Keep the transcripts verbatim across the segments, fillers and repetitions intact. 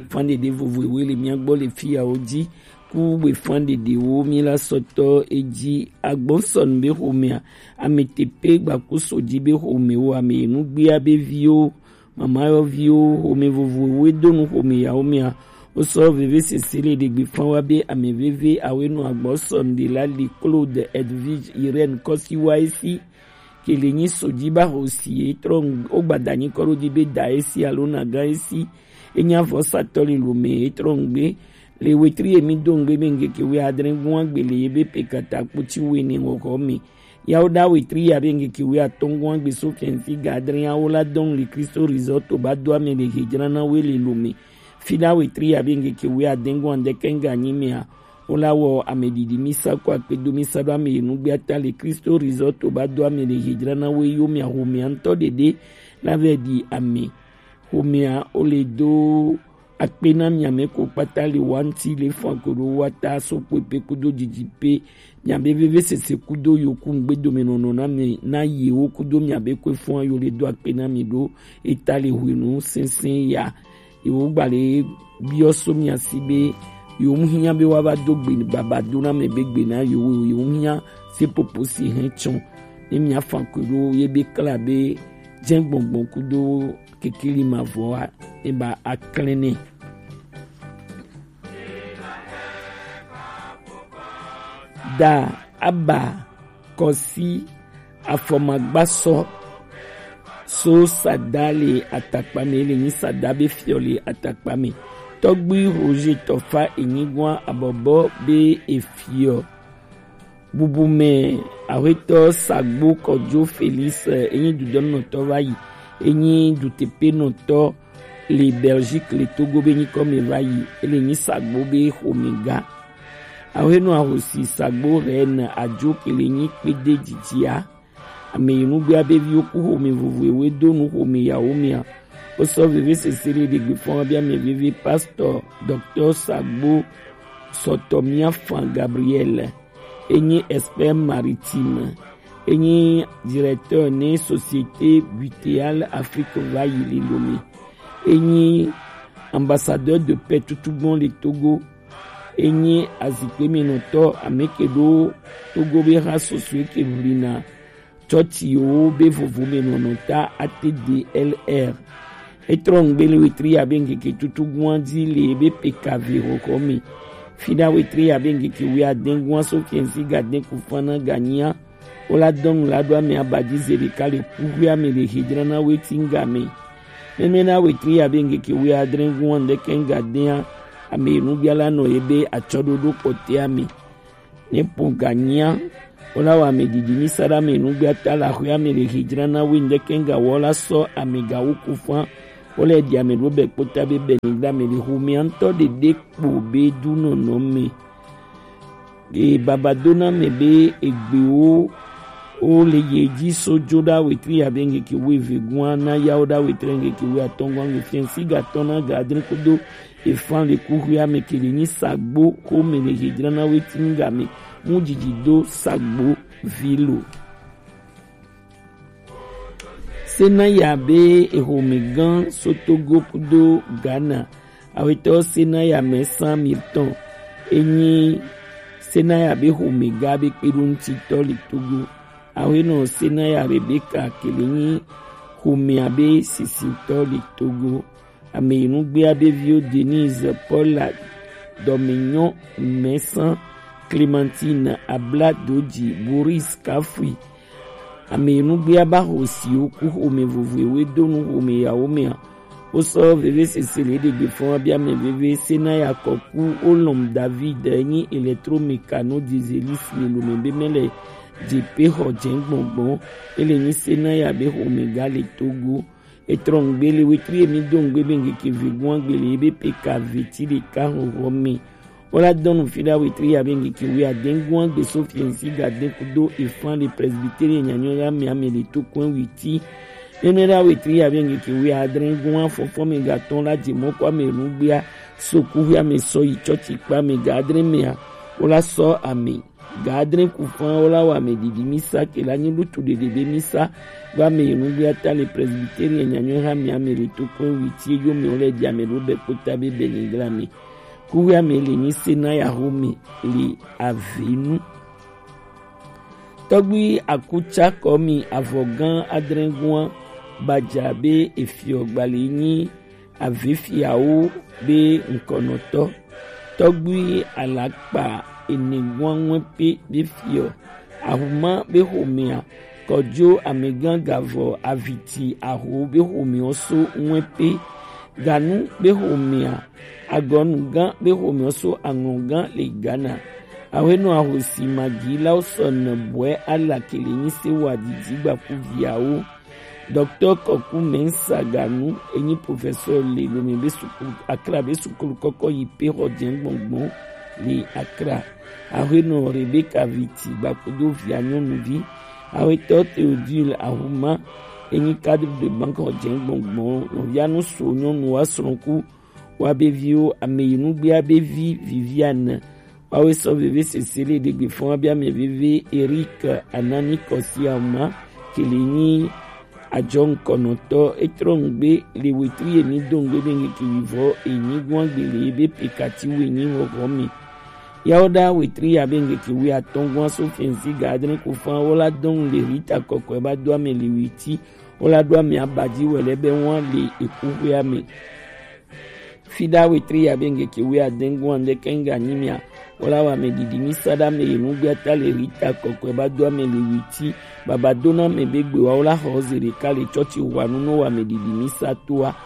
Fan ɖeɖe vovovowo le mía gbɔ le fiyawo ji. Ku be fan ɖeɖewo mí la sɔtɔ edzi. Agbɔsɔnu be xomea, ame tepe gbakuso ji be xomewo, ame yi nugbea be viwo, mamayɔviwo, xome vovovowo do nu xome yawo mea. Wosɔ vevesese le ɖegbe fan wa be ame veve awe nu agbɔsɔnu ɖe la li Claude Edwige Irène Kɔsiwa esi. Ke le nyi so ji ba ho si e trɔ ŋ-, wo gbada nyi kɔ ɖo di be da esi alo na gan esi. E nya vɔ satɔ le lo me e trɔ ŋgbe. Le wetri e mi do ŋgbe be ŋgeke we adre gun agbe le ye be pe kata kpoti we ne ŋgɔgɔ me. Ya wo da wetri ya be ŋgeke we atɔ gun agbe so fɛnfi ga adre ya wo la dɔn le Kristo Resort ba do ame le hejra na we le lo me. Fida wetri ya be ŋgeke we adengu andeke ŋga nyi mea, wo la wɔ ame ɖiɖi misa ko akpedo misa ɖo ame yi nugbe ata le Kristo Resort ba do ame le hejra na we yo mea homea ŋutɔ ɖeɖe la vɛ ɖi ame. Homea wo le do akpe na mia me ko kpata le wa ŋuti le fan ko ɖo wa ta so kpekpe kudo didi pe mia be vevesese kudo yoku ŋgbedomenɔnɔ na me na yewo kudo mia be kwe fɔn yo le do akpe na mi ɖo eta le hwenu sɛnsɛn ya. Yewo gba le biɔ so mia si be yewo mu hiã be wa va do gbe baba do na me be gbe na yewo yewo mu hiã se popo si hɛn tsɔn ne mia fan ko ɖo ye be kla be jɛ gbɔngbɔn kudo kekeli mavɔ wa ne ba aklɛnɛ. Da aba kɔsi afɔmagbasɔ so sada le atakpa me le nyi sada be fiɔ le atakpa me. Tɔgbi Roger Tɔfa enyigua abɔbɔ be efiɔ. Bubu me ahwetɔ Sagbo Kɔdzo Felix, eh, enyi dudɔnɔtɔ va yi, enyi dutepenɔtɔ le Belgique le Togo be nyikɔ me va yi, ele nyi Sagbo be xomega. Ahwenɔ ahosi Sagbo Reine Adzo ke le nyi kpede dzidzia. Ame yi nugbea be viwo ku xome vovovowo do nu xome yawo mea. Wosɔ vevesese le ɖegbe fɔn wa be ame veve pastor docteur Sagbo Sɔtɔmia Fan Gabriel. Enyi expert maritime, enyi directeur ne Société Butéale Afrique va yi le Lomé, enyi ambassadeur de paix tutugbɔn le Togo, enyi azikpemenɔtɔ ameke ɖo Togo be ha sosoe ke ʋlina tsɔtsiwo be vovomenɔnɔ ta A T D L R. Etrɔ ŋgbe le wetri ya be ŋkeke tutugbɔn dzi le ebe P K V xɔxɔ me. Fina wetri ya be ŋkeke wuiadɛn gua so fiɛnsi gadɛn ku fana ganyia. Wo la dɔn la ɖo ame abadzi ze ɖeka le kuxuia me le hedzrana weti ŋga me. Mɛmɛ na wetri ya be ŋkeke wuiadrɛn gua ŋdɛkɛ ŋgadɛa ame nubia la nɔ ebe atsɔɖoɖo kpɔtɛa me. Ne po ganyia, wo la wɔ ame didi mi sa ɖe ame nugbiata le axɔe ame le hedzrana we ŋdɛkɛ ŋga wɔ la sɔ ame gawo ku fã. Wo le ɖi ame ɖo bɛ kpota be bɛ ni ɖe ame le xomea ŋutɔ ɖeɖe kpo be du nɔnɔ me. E baba do na me be egbewo wo le ye dzi so dzo ɖa wetri ya be ŋkeke wuieve gua na ya wo ɖa wetri ŋkeke wuiatɔ̃ gua ŋkeke fiɛnsi gatɔ̃ na ga adre kudo efan le kuxuia me ke le nyi sagbo xome le hedzrana weti ŋga me mu dzidzi do sagbo vi lo. Senaya be exome gã so Togo kudo Ghana. Awetɔ Senaya me san mi tɔn. Enyi Senaya be xome ga be kpeɖoŋutitɔ le Togo. Awenɔ Senaya Rebecca ke le nyi xomea be sisitɔ le Togo. Ame yi nugbea be viwo Denise, Paula, Dɔmenyɔ, Mɛsan, Clementine, Abla Doji, Boris Kafui. Ame yi nugbea ba xo siwo ku xome vovoewo do nu xome yawo mea. Wo sɔ veve sese le ɖegbe fɔn wa bi ame veve Senaya Kɔku Olɔm David nyi électromecano dieselis le lome be mele jepe xɔ jɛ gbɔngbɔn. Ele nyi Senaya be xome ga le Togo. Etrɔ ŋgbe le wetri emi do ŋgbe be ŋkeke ve gua gbe le ebe P K V ti ɖeka xɔxɔ me. Wo la dɔn nu fi ɖa wetri ya be ŋkeke wuiadɛn gua gbe so fiɛnsi gadɛn kudo efan le presbytere nyanyɔ ya me ame le to kɔn witi. Nene ɖa wetri ya be ŋkeke wuiadrɛn gua fɔfɔ me gatɔn la je mɔ kɔ ame nugbea so kuxuia me sɔ yi tsɔtsi kpa me gadrɛn mea. Wo la sɔ ame Gadrin kufan wola wa me didi misa ke la nyi lutu dede be misa wa me yenu bi ata le presbytery e nyanyo ha mi ame le to kwe witi e yo me ole di ame lo be kota be be ni gra mi. Kuwi ame le nyi se na ya ho mi le avenu. Tɔgbi akutsakɔ mi avɔgan adrɛnguan badza be efiɔ gbali nyi avefiawo be ŋkɔnɔtɔ. Tɔgbi alakpa eneguan ŋue pe be fiɔ. Ahuma be homea kɔdzo amegan gavɔ aviti aho be homeɔ so ŋue pe. Ganu be homea agɔnugan be homeɔ so aŋlɔgan le Ghana. Awenɔ ahosi magilawo sɔ ne bɔɛ ala kele nyi se wa didi gbaku viawo. Docteur Kɔku Mensa Ganu enyi professeur le Lome be sukulu Accra be sukulu kɔkɔ yi pe xɔ jɛn gbɔngbɔn le Accra. Awenɔ Rebecca Viti gbakudo via nyɔnuvi. Awetɔ Theodule Ahuma enyi cadre de banque xɔ jɛn gbɔngbɔn nɔvia nu so nyɔnu wa srɔ̃ku wa be viwo ame yi nugbea be vi Viviane. Wawe sɔ veve sese le ɖegbe fɔn abia me veve Eric Anani Kɔsi Ama kele nyi ajɔ ŋkɔnɔtɔ etrɔ ŋgbe le wetri eni do ŋgbe be ŋkeke wivɔ enyi guan gbele be pekati wo enyi hɔhɔ mi. Yawo ɖa wetri ya be ŋkeke wi atɔn guan so fɛnsi ga adre ko fan wo la dɔn le Rita kɔkɔe ba do ame le witi wo la do ame abaji wɛlɛ be wan le eku hwe ame. Fiɖa wetri ya be ŋkeke wi adɛn guan ɖe kɛŋga nyi mia. Wo la wa ame ɖiɖi mi sa ɖa ame yi nugbe ata le Rita kɔkɔe ba do ame le witi baba do na ame be gbe wa wo la xɔ ze ɖeka le tsɔtsi hwa nu no wa ame ɖiɖi mi sa toa.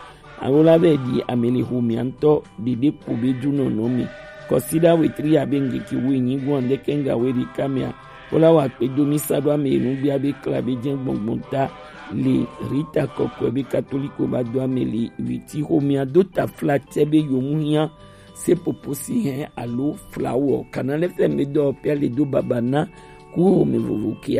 Awo la be ɖi ame le xo mia ŋutɔ ɖeɖe kpo be du nɔnɔ mi. Kɔsiɖa wetri ya be ŋkeke wi nyi guan ɖe kɛŋga we ɖeka mia. Wo la wa kpe do mi sa ɖo ame yi nugbea be kla be jɛ gbɔngbɔn ta le Rita kɔkɔe be katoliko ba do ame le witi xo mia do ta fla tɛ be yomu hiã se popo si hɛn alo flawo kana lɛ fɛ me dɔ pia le do baba na ku xo me vovo kia.